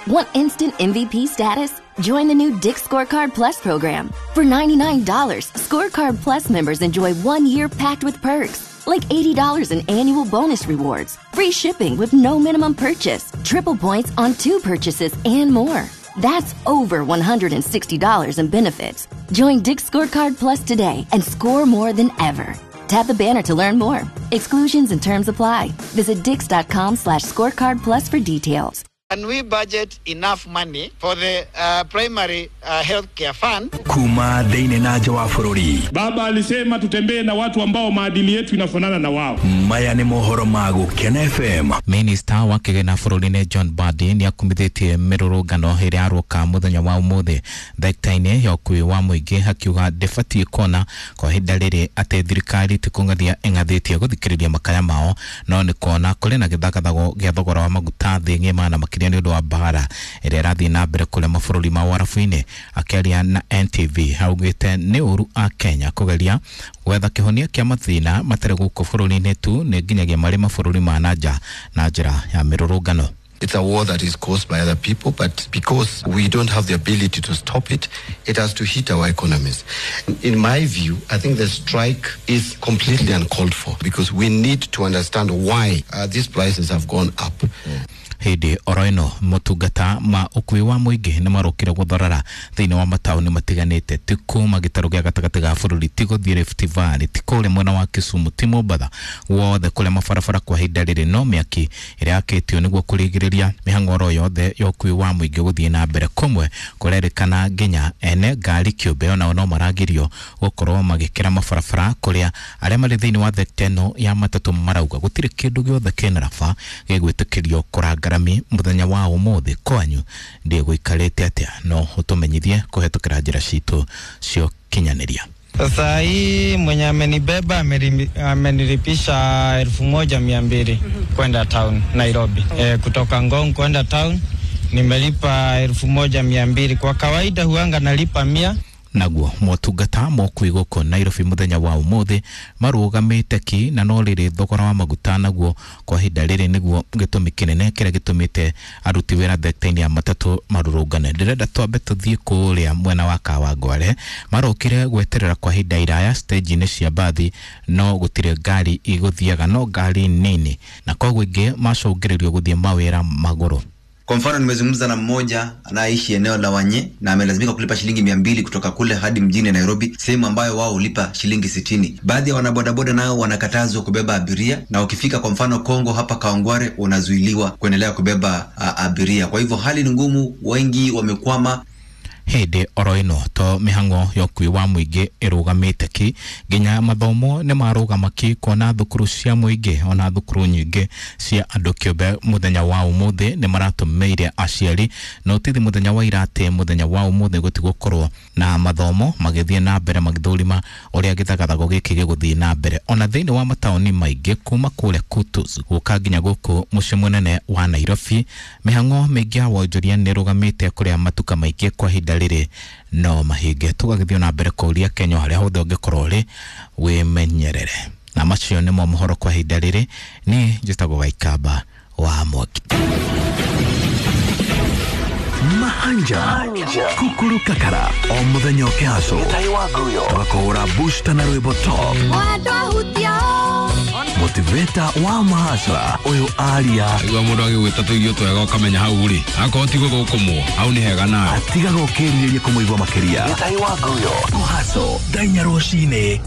Want instant MVP status? Join the new Dick's Scorecard Plus program. For $99, Scorecard Plus members enjoy 1 year packed with perks, like $80 in annual bonus rewards, free shipping with no minimum purchase, triple points on two purchases, and more. That's over $160 in benefits. Join Dick's Scorecard Plus today and score more than ever. Tap the banner to learn more. Exclusions and terms apply. Visit dicks.com/scorecard plus for details. Can we budget enough money for the primary health care fund? Kuma thĩinĩ na nja wa bũrũri. Baba alisema tutembee na watu ambao maadili yetu inafanana na wao. Maya nĩ mohoro ma Gũkena FM. Minista wa kĩgĩna bũrũri-inĩ John Mbadi nĩ akumithĩtie mĩrũrũngano ĩrĩa yaroka mũthenya wa ũmũthĩ thekta-inĩ ya ũkuui wa mũingĩ, akiuga ndĩbatiĩ kuona kwa ihinda rĩrĩ atĩ thirikari ti kũng'athia ĩng'athĩtie gũthikĩrĩria makaya mao, no nĩ kuona kũrĩ na gĩthagathago gĩa thogora wa maguta thĩ ng'ima, na makĩria nĩ ũndũ wa mbara ĩrĩa ĩrathiĩ na mbere kũrĩa mabũrũri ma Ũarabu-inĩ. Akĩaria na NTV, augĩte nĩ ũru a Kenya kũgeria gwetha kĩhonia kĩa mathĩna matarĩ gũkũ bũrũri-inĩ tu, nĩ nginyagia marĩ mabũrũri ma na nja na njĩra ya mĩrũrũngano. It's a war that is caused by other people, but because we don't have the ability to stop it, it has to hit our economies. In my view, I think the strike is completely uncalled for because we need to understand why these prices have gone up. Hĩndĩ oro ĩno, motungata ma ũkuui wa mũingĩ nĩ marũkire gũthorara thĩinĩ wa mataũni matiganĩte, ti kuma gĩtarũ gĩa gatagatĩ ga bũrũri, ti gũthiĩ Rift Valley, ti kũrĩa mwena wa Kisumu, ti Mombatha, wothe kũrĩa mabarabara kwa ihinda rĩrĩ no mĩaki ĩrĩa yakĩtio nĩguo kũrigĩrĩria mĩhang'o oro yothe ya ũkuui wa mũingĩ gũthiĩ na mbere. Kũmwe kũrerĩkana nginya ene ngari kĩũmbe onao no maragirio gũkorwo magĩkĩra mabarabara, kũrĩa arĩa marĩ thĩinĩ wa thekta ĩno ya matatũ marauga gũtirĩ kĩndũ gĩothe kĩna raba gĩgwĩtĩkĩrio kũranga rami mũthenya wa ũmũthĩ. Kwanyu ndĩgũikarĩte atĩa? No ũtũmenyithie kũhetũkĩra njĩra citũ cia ũkinyanĩria. Sasa hii mwenye amenibeba amenilipisha 1,200 kwenda town Nairobi. Kutoka Ngong kwenda town nimelipa 1,200. Kwa kawaida huanga nalipa 100. Naguo motungata ma ũkuui gũkũ Nairobi mũthenya wa ũmũthĩ marũgamĩte ki, na no rĩrĩ thogora wa maguta naguo kwa ihinda rĩrĩ nĩguo gĩtũmi kĩnene kĩrĩa gĩtũmĩte aruti wĩra thekta-inĩ ya matatũ marũrũngane. Ndĩrenda twambe tũthiĩ kũrĩa mwena wa Kawangware. Marokire gweterera kwa ihinda iraya stage-inĩ cia mbathi, no gũtirĩ ngari igũthiaga, no ngari nini, na koguo ingĩ macũngĩrĩrio gũthiĩ mawĩra magũrũ. Kwa mfano, nimezungumza na mmoja anayeishi eneo la Wanye na amelazimika kulipa shilingi 200 kutoka kule hadi mjini Nairobi, sehemu ambayo wao hulipa shilingi 60. Baadhi ya wanabodaboda nao wanakatazwa kubeba abiria, na ukifika kwa mfano Kongo hapa Kawangware unazuiliwa kuendelea kubeba abiria. Kwa hivyo hali ni ngumu, wengi wamekwama. Hĩndĩ oro ĩno, to mĩhang'o ya ũkuui wa mũingĩ ĩrũgamĩte ki, nginya mathomo nĩ marũgama ki, kuona thukuru cia mũingĩ ona thukuru nyingĩ cia andũ kĩũmbe mũthenya wa ũmũthĩ nĩ maratũmĩire aciari notithi mũthenya wa ira atĩ mũthenya wa ũmũthĩ gũtigũkorwo na mathomo, magĩthiĩ na mbere magĩthũrima ũrĩa gĩthagathago gĩkĩ gĩgũthiĩ na mbere. Ona thĩinĩ wa mataũni maingĩ kuma kũrĩa Kutus gũka nginya gũkũ mũciĩ mũnene wa Nairobi, mĩhang'o mĩingĩ ya wonjoria nĩ ĩrũgamĩte, kũrĩa matuka maingĩ kwa ihinda rĩrĩ no mahinge. Tũgagĩthiĩ na mbere kũũria Kenya harĩa hothe ũngĩkorwo ũrĩ wĩmenyerere. Na macio nĩmo mohoro kwa ihinda rĩrĩ. Nĩ njĩtagwo Waikamba wa Mwangi. Mahanja Kukuru Kakara o muthenya ũkĩhacwo tũgakũhũra booster na rwĩmbo top motivator wa mahacra ũyũ aria. Igua mũndũ agĩgwĩta tũirio twega ũkamenya hau rĩ akorwo ti gũthũkũmwo hau nĩ hega nawe. Atigaga ũkĩrirĩria kũmũigua makĩria. Kũhaco thaa 4 rũcinĩ.